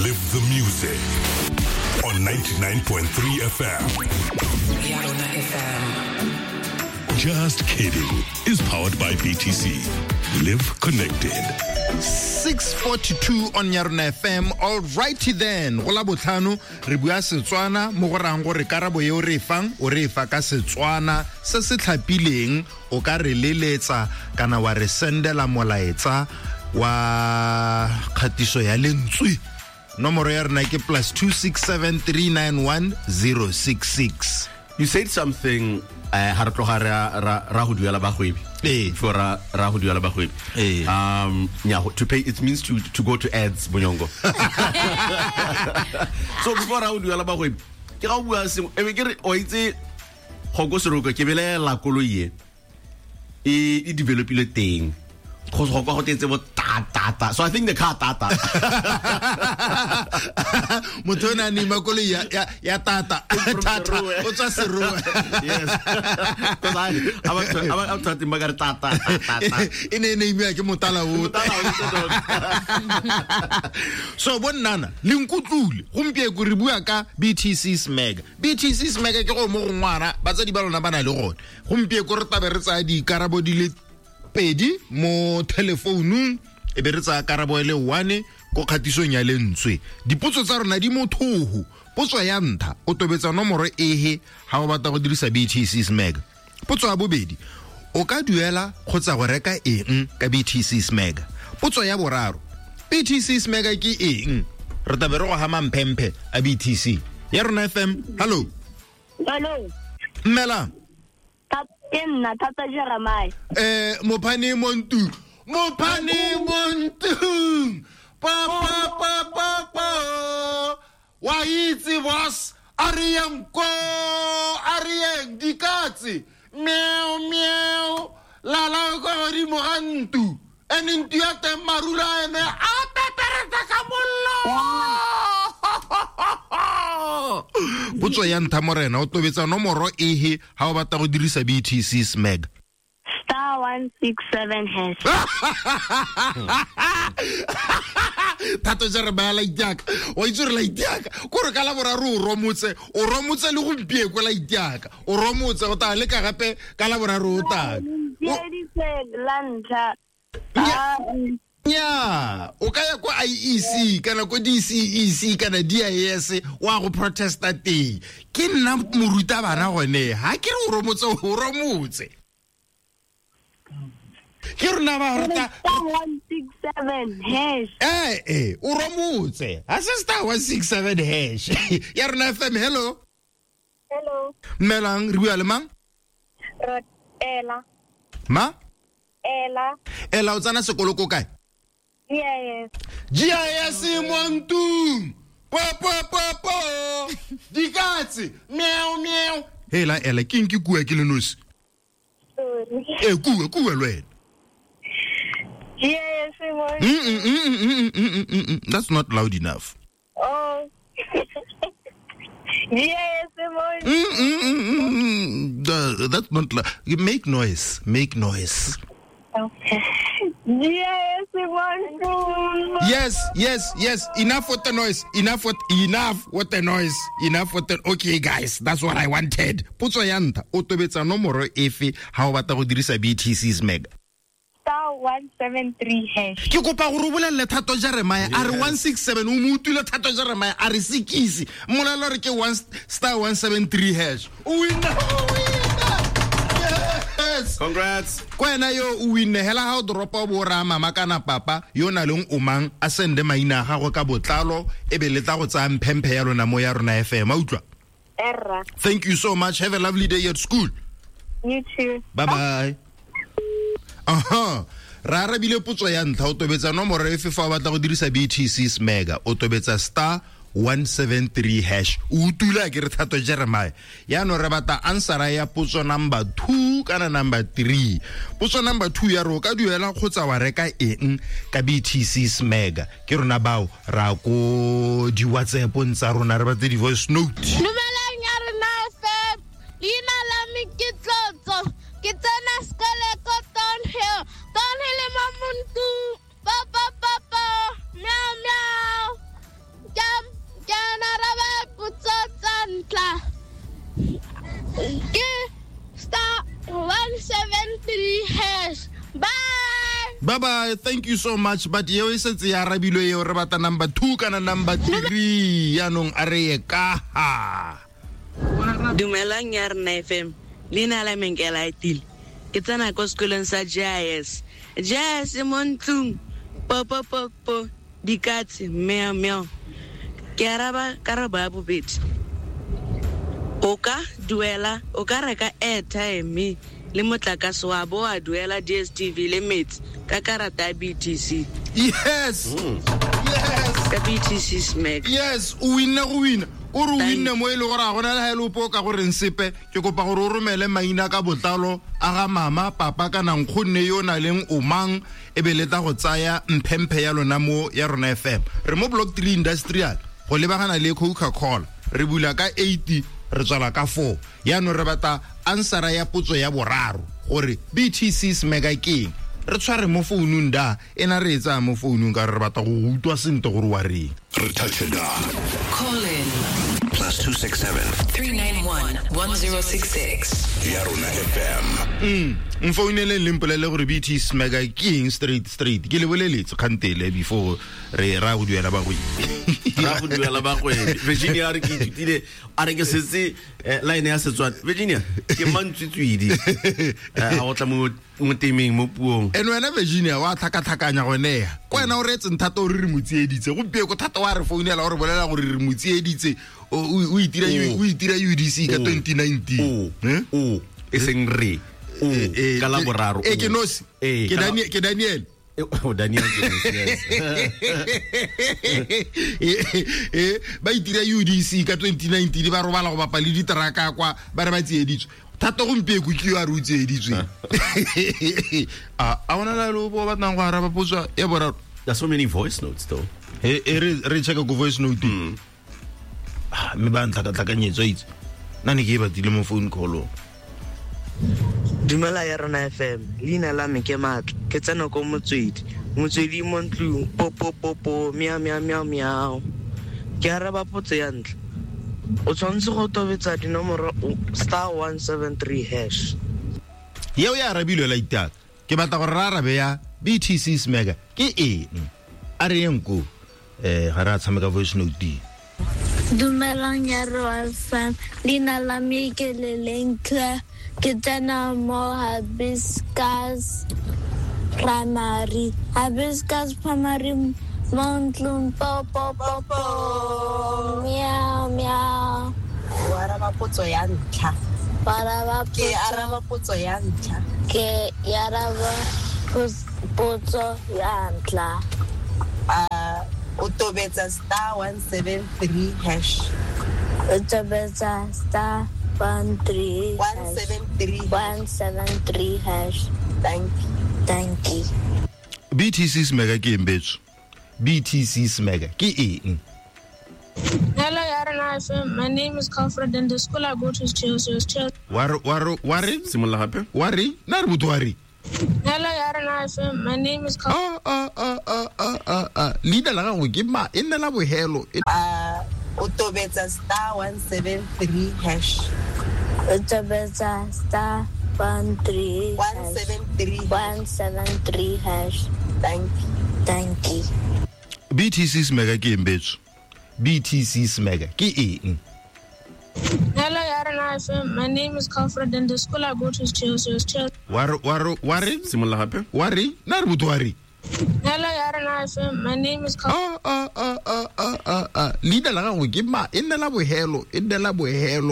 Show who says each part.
Speaker 1: Live the music on 99.3 FM.
Speaker 2: Ya Rona FM.
Speaker 1: Just kidding is powered by BTC. Live connected.
Speaker 3: 642 on Yarona FM. All righty then. Go la botlhano re bua Setswana mo go rang gore karabo e o re e fang o re e fa ka Setswana se se tlhapileng o ka re leletsa kana wa re sendela molaetsa wa kgatiso ya lentswe. Nomoro ya rena ke plus 267391 066.
Speaker 4: You said something ha re tloga ra go duela bagwebi.
Speaker 3: Ee.
Speaker 4: Before ra go duela bagwebi.
Speaker 3: Ee.
Speaker 4: Yeah, to pay, it means to go to ads, Bonyongo. So before ra go duela bagwebi, ke ga o bua sengwe, e be ke re, o itse, go ko Seroka, ke belela koloi e developile teng. Go kwa go tetse bo ta ta ta. So I think the car ta ta.
Speaker 3: Motho o ne a neima koloi ya tata tata o tswa Serowe.
Speaker 4: Yes. Because I'm talking about ta ta ta ta ta.
Speaker 3: E ne e neimiwa ke motala o.
Speaker 4: Motala o
Speaker 3: So bonnana le nkutlule gompieko re bua ka BTC Smega. BTC Smega ke go mo go ngwana batsadi ba lona ba na le gone. Gompieko re tabe re tsaya dikarabo di le pedi mo telefounung, e be re tsaya karabo e le one ko kgatisong ya lentswe. Dipotso tsa rona di mothoho. Potso ya ntlha, o tobetsa nomoro ehe ha o batla go dirisa BTC Smega? Potso ya bobedi, o ka duela kgotsa go reka eng ka BTC Smega? Potso ya boraro, BTC Smega ke eng? Re tlabe re go hama mphemphe a BTC ya Rona FM. Hallo.
Speaker 5: Hallo.
Speaker 3: Mmela.
Speaker 5: Ke nna Thata Jeremiah.
Speaker 3: Mophane montu. Mophane montu. Pa pa pa pa pa. Wa itse boss, a re yang ko, a re yang dikatse. Meow meow. La la ko godimo ga ntu. Ene ntu ya teng marula ene a tetereta ka mollo. Potso ya ntlha morena, o tobetsa nomoro ehe ha o batla go dirisa BTC Smeg?
Speaker 5: *167#.
Speaker 3: Thato ja re baya laitiaka. Wa itse gore laitiaka kore ka la boraro o romotse, o romotse le gompieko laitiaka. O romotse go tla leka gape ka la boraro o tla.
Speaker 5: La ntlha.
Speaker 3: Nya, o ka ya kwa IEC kana ko DCEC kana DIS wa go protesta teng. Ke nna morutabana gone, ha ke re o romotse, o romotse. Ke rona ba rata
Speaker 5: *167#.
Speaker 3: O romotse. Ha se *167#. Ya Rona FM, hello.
Speaker 5: Hello.
Speaker 3: Mmelang, re bua le mang?
Speaker 5: Ela.
Speaker 3: Ma?
Speaker 5: Ela.
Speaker 3: Ela, o tsena sekolo ko kae?
Speaker 5: GIS.
Speaker 3: GIS Montung. Po po po po. Dikatse. Meow meow. Hela ela, ke eng ke kua ke le nosi?
Speaker 5: Sorry.
Speaker 3: Kua le wena.
Speaker 5: GIS Montung.
Speaker 3: That's not loud enough.
Speaker 5: Oh. GIS Montung.
Speaker 3: That's not loud. Make noise. Make noise.
Speaker 5: GIS Montung.
Speaker 3: Yes, yes, yes. Enough with the noise. Enough with the noise. Enough with the. Okay, guys, that's what I wanted. Potso ya ntlha, o tobetsa nomoro efe ha o batla go dirisa BTC Smeg?
Speaker 5: *173#.
Speaker 3: Ke kopa gore o bolelle Thato Jeremiah a re 167, o mo utlwile Thato Jeremiah a re sekisi. Mmolelle gore ke one *173#. O winna, o winna. Yes.
Speaker 4: Congrats.
Speaker 3: Ko wena yo o winne, hela ha o dropa o bo raya mama kana papa yo o na leng o mang, a sende maina a gagwe ka botlalo, e be le tla go tsaya mphemphe ya lona mo ya Rona FM. A utlwa?
Speaker 5: Erra.
Speaker 3: Thank you so much. Have a lovely day at school.
Speaker 5: You too.
Speaker 3: Bye bye. Aha. Ra arabile potso ya ntlha, o tobetsa nomoro efe fa o batla go dirisa BTC Smega? O tobetsa *173#. O utlwile ke re Thato Jeremiah. Yaanong re batla answera ya potso number 2 kana number 3. Potso number 2 ya re o ka duela kgotsa wa reka eng ka BTC Smega? Ke rona bao ra ko di WhatsApp-ong tsa rona re batle di voice note.
Speaker 6: Dumelang ya Rona FM. Leina la me ke Tlotso. Ke tsena sekolo ko Thornhill. Thornhill e mo Montung. Pa pa pa pa. Meow meow. Ke Ke star 173 hash. Bye.
Speaker 3: Bye bye, thank you so much. But eo e setse ya arabilwe eo, re batla number 2 kana number 3. Yaanong a re ye ka ha.
Speaker 7: Dumelang ya rena FM. Leina la me ke Laetile. Ke tsena ko sekolong sa JIS. JIS mo ntlong. Po po po po. Dikatse meow meow. Ke araba karabo ya bobedi. O ka duela, o ka reka airtime le motlakase wa bo wa duela DStv le metsi ka karata ya BTC.
Speaker 3: Yes. Yes.
Speaker 7: Ka BTC Smack.
Speaker 3: Yes, o winne go wina. O re o winne mo e le gore a gona le ha e le ope o ka goreng sepe. Ke kopa gore o romele maina ka botlalo a ga mama, papa kana nkgonne yo o na leng o mang, e be le tla go tsaya mphemphe ya lona mo ya rona FM. Re mo Block 3 Industrial go lebagana le Coca-Cola. Re bula ka 8, re tswala ka 4. Yaanong re batla answera ya potso ya boraro gore BTC Smega ke eng. Re tshware mo founung da ena re e tsaya mo founung ka re batla go utlwa sentle gore wa reng.
Speaker 1: Re touch da.
Speaker 2: Call in
Speaker 1: +267
Speaker 2: 391 1066.
Speaker 1: Ya rona FM.
Speaker 3: Mfouneleng le mpolele gore BT Smega ke eng straight straight. Ke le boleletse kgantele before re ra go duela bagwebi.
Speaker 4: Ra go duela bagwebi. Virginia a re ke ithutile, a re ke setse line ya Setswana. Virginia ke mantswitswidi. A go tla mo temeng mo puong.
Speaker 3: And wena Virginia wa tlhakatlhakanya gone ya. Ko wena o reetseng thata o re re mo tsieditse. Gompieno ko thata wa re founela o re bolela gore re mo tsieditse. O itira UDC ka 2019.
Speaker 4: O e seng re. Ka la boraro.
Speaker 3: Ke nosi. Ke Daniel.
Speaker 4: Oh, Daniel ke nosi, yes.
Speaker 3: Ba itira UDC ka 2019 ba robala go bapa le diteraka kwa ba re ba tsieditswe. Thata gompieno ke yo a re o tsieditswe. A ona la lo bo batlang go araba potso ya boraro.
Speaker 4: There's so many voice notes though.
Speaker 3: Re check go voice note. Mme ba ntlhakatlhakanyetso itse. Nna ne ke e batile mo phone call.
Speaker 7: Dumela ya rona FM. Leina la me ke Matla. Ke tsena ko Motswedi. Motswedi mo ntlong. Po po po po meow meow meow meow. Ke araba potso ya ntlha. O tshwanetse go tobetsa dinomoro star 173 hash.
Speaker 3: Yeo ya arabilwe la itaka. Ke batla gore re arabe ya BTC Smega ke eng? A re yeng ko. Ga re a tshameka voice note.
Speaker 6: Dumelang ya rona FM. Leina la me ke Lelentle. Ke tsena mo Hibiscus Primary. Hibiscus Primary mo ntlong po po po po. Meow meow.
Speaker 8: O araba potso ya ntlha. Ke araba potso ya ntlha.
Speaker 6: Ke araba potso ya ntlha.
Speaker 8: O tobetsa star 173 hash.
Speaker 6: O tobetsa star 173 173 hash.
Speaker 8: Thank you.
Speaker 6: Thank you.
Speaker 3: BTC Smega ke eng betso? BTC Smega ke eng?
Speaker 6: Hello, Yarana FM. My name is Comfort and the school I go to is Chelsea.
Speaker 3: Wa re
Speaker 4: simolola gape.
Speaker 3: Wa re na re botho wa re.
Speaker 6: Hello, Yarana FM. My name is Comfort.
Speaker 3: Leina la gago ke ma e nne la bohelo.
Speaker 8: O tobetsa star 173 hash.
Speaker 6: O tobetsa star 13
Speaker 8: 173
Speaker 6: 173 hash.
Speaker 8: Thank you.
Speaker 6: Thank you.
Speaker 3: BTC Smega ke eng betso? BTC Smega ke eng?
Speaker 6: Hello, Yarana FM. My name is Comfort and the school I go to is Chelsea.
Speaker 3: Wa re
Speaker 4: simolola gape.
Speaker 3: Wa re na re botho wa re.
Speaker 6: Hello, Yarana FM. My name is
Speaker 3: Leina la gago ke ma e nne la bohelo, e nne la bohelo.